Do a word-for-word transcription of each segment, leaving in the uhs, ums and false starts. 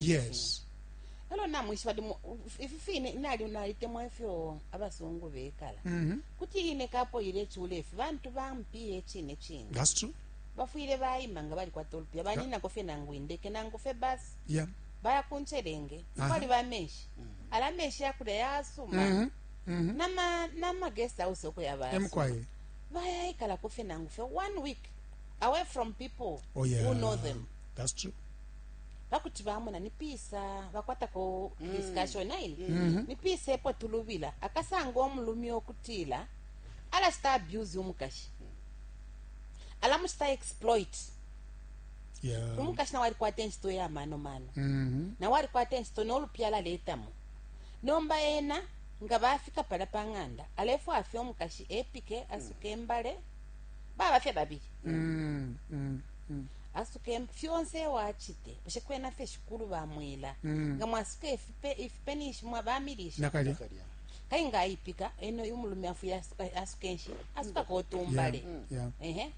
Yes. Elo namwishiba limo ifi fine nali nalitemwa ifyo abasungu bekala. Mm-hmm. Kuti ine kapo ile chule ifi bantu bampiye chine chine. That's true. Bafwile bayima nga balikwata ulupiya banina kofe nangu indeke nangu fe basi. Yeah. Baya kunchelenge. Aha. Kwali bamenshi. Ala menshi yakulya yasuma. Mm-hmm. Mm-hmm. Nama nama guest house oko yabasuma. Emkwaye. Bayayikala kofe nangu fe one week away from people Oh yeah. who know them. That's true. Bakuti bamona ni pisa bakwatako discussion aini ni pisa epo tulubila akasanga omulumi okutila alacita abuse umukashi alamucita exploit. Yeah. Umukashi nawe alikwata enchito ya mano mano. Mm-hmm. Nawe alikwata enchito nolupya alaletamo nomba ena nga bafika pala pa ng'anda alefwaya fye omukashi epike asuke embale baba fye babili. Mm, mm, mm. Asuke fyonse wachite bushe kwena fye shikulu bamwila. Mm. Nga mwasuke ifipe ifipe nishi mwabamilisha. Nakalya. Kai nga ayipika eno umulume afuye asuka asuke nshi asuka kotumbale. Yeah. Yeah. Ehe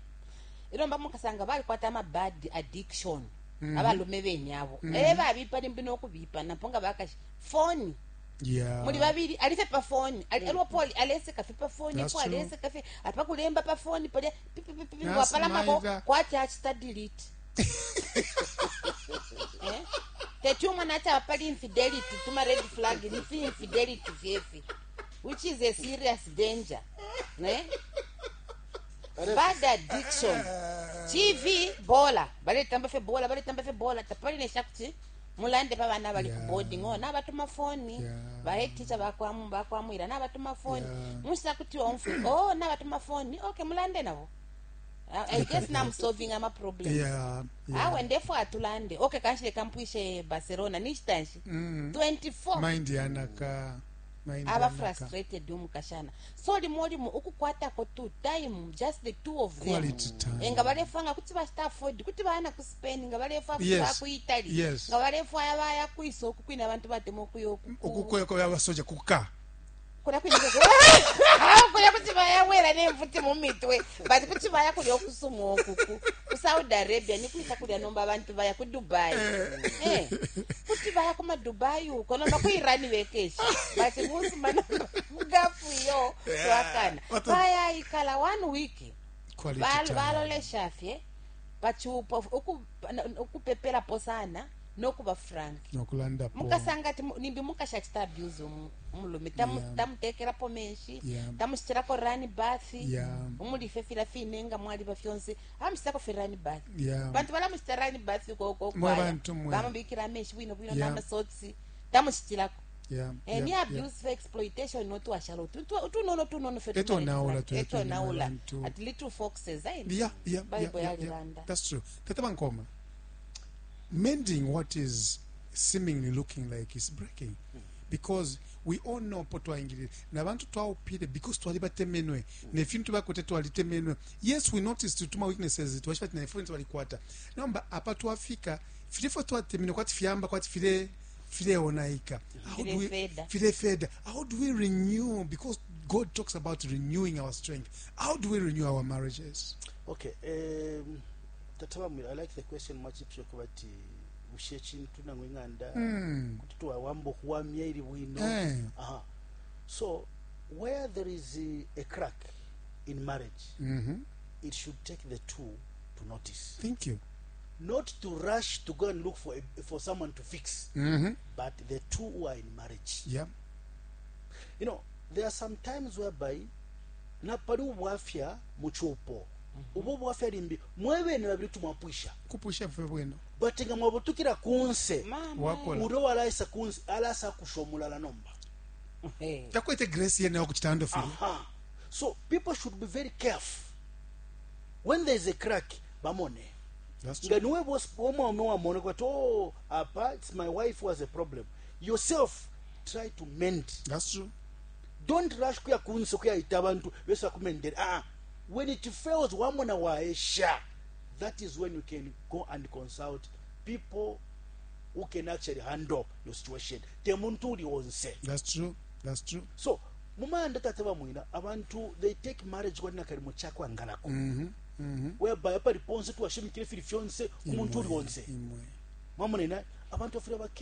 ilomba mukasanga balikwata ama bad addiction. Mm-hmm. Abalume benyabo mm -hmm. Eh babipa limbi nokubipa napo nga bakashi phone. Yeah. Muli babili alife pa phone ali mm. Paul alese kafe pa phone That's po true. alese kafe apakulemba pa phone pale pipi pipi pipi Yes, wapalamako maida. kwati achita delete. Eh tetu mwana ata pali infidelity tuma red flag ni fi infidelity fyefi which is a serious danger. Ne bad addiction. T V bola baletamba fe bola baletamba fe bola tapali ne shakuti mulande pa bana bali Yeah. ku boarding oh na batuma phone. Yeah. Ba head teacher bakwamu bakwamwira na batuma phone. Yeah. Musa kuti omfu oh na batuma phone okay mulande nabo. I, I guess now I'm solving ama problems. Yeah. Yeah. Awe ndefo atulande okay kanshile kampwishe Barcelona nishitanshi Mm. twenty-four Mind yanaka. Mind aba yanaka. frustrated umukashana so limo limo ukukwatako two time just the two of them. Quality time. Nga balefanga kuti bashita afford kuti bana ku Spain nga balefa Yes. ku Italy. Yes. Nga balefa yabaya kuiso okukwina abantu batemo kuyo Okukweko abasoja kuka. Kuna kwina kuna kuti bayawera nemfuti mu mitwe but kuti baya kulya okusuma okuku ku Saudi Arabia ni kuisa kulya nomba abantu baya ku Dubai. Eh kuti baya kuma Dubai uko nomba ku Iran bekeshi but musuma nomba mugafu yo Yeah. twakana What a- baya ikala one week Quality Bal- time. balolesha fye pachupa uku ukupepela posana nokuba frank Nokulanda po. mukasanga ati mu- nimbi mukashachita abuse umu- umulume tamu Yeah. tamutekerapo menshi Yeah. tamusitirako rani bath. Yeah. Umulife fila fine nga mwali bafyonse amusitako fe rani bath. Yeah. Bantu balamusita rani bath koko Mwe kwaya bantu mwe. bamubikira menshi bwino bwino Yeah. n'amasotsi tamusitirako. Yeah. Eh, yeah, ni yeah. abuse for exploitation notuwashala utunono tunono fe Etonaula tu- etonaula bantu. at little foxes ayi Yeah, yeah, Bible yeah, yeah, yeah. yalilanda. That's true. Tata Bankoma, mending what is seemingly looking like is breaking, because we all know po twaingilile nabantu twaupile because twalibatemenwe nefintu bakwete twalitemenwe. Yes, we noticed tuma weaknesses twashifati na influence balikwata nomba apa twafika filifo twatemenwe kwati fyamba kwati file fileonaika. How do we Filefeda. filefeda. How do we renew? Because God talks about renewing our strength. How do we renew our marriages? Okay, um, Tata Bamwira, I like the question much kwati bushe chintu nangwe nganda Mm. kuti twawamba okuwamya iri bwino. Eh. Aha. So where there is a, a crack in marriage, Mm-hmm. it should take the two to notice. Thank you. Not to rush to go and look for a, for someone to fix, Mm-hmm. but the two who are in marriage. Yeah. You know, there are some times whereby napali ubwafya muchupo ubo bwafya limbi mwebene babili tumwapwisha Kupusha fwe bwino. but nga mwabutukira kunse Mama. Wakola. uro walaisa kunse alasa kushomulala nomba Hey. Takwete grace yene okuchitando fili. Aha. So people should be very careful when there is a crack bamone. That's true. Nga niwe boss omwame wamone kwati oh apa it's my wife who has a problem. Yourself try to mend. That's true. Don't rush kuya kunse kuya ita abantu besa kumendera. Ah, when it fails wamona waesha, that is when you can go and consult people who can actually handle your situation. Temuntu uli onse. That's true. That's true. So mumanda tate bamwina abantu they take marriage kwani kalimo chakwangalako. Mm-hmm. Mm-hmm. Whereby pali ponse tuwashimikire fili fyonse umuntu uli onse. Imwe. Mwamonena Abantu bafwile.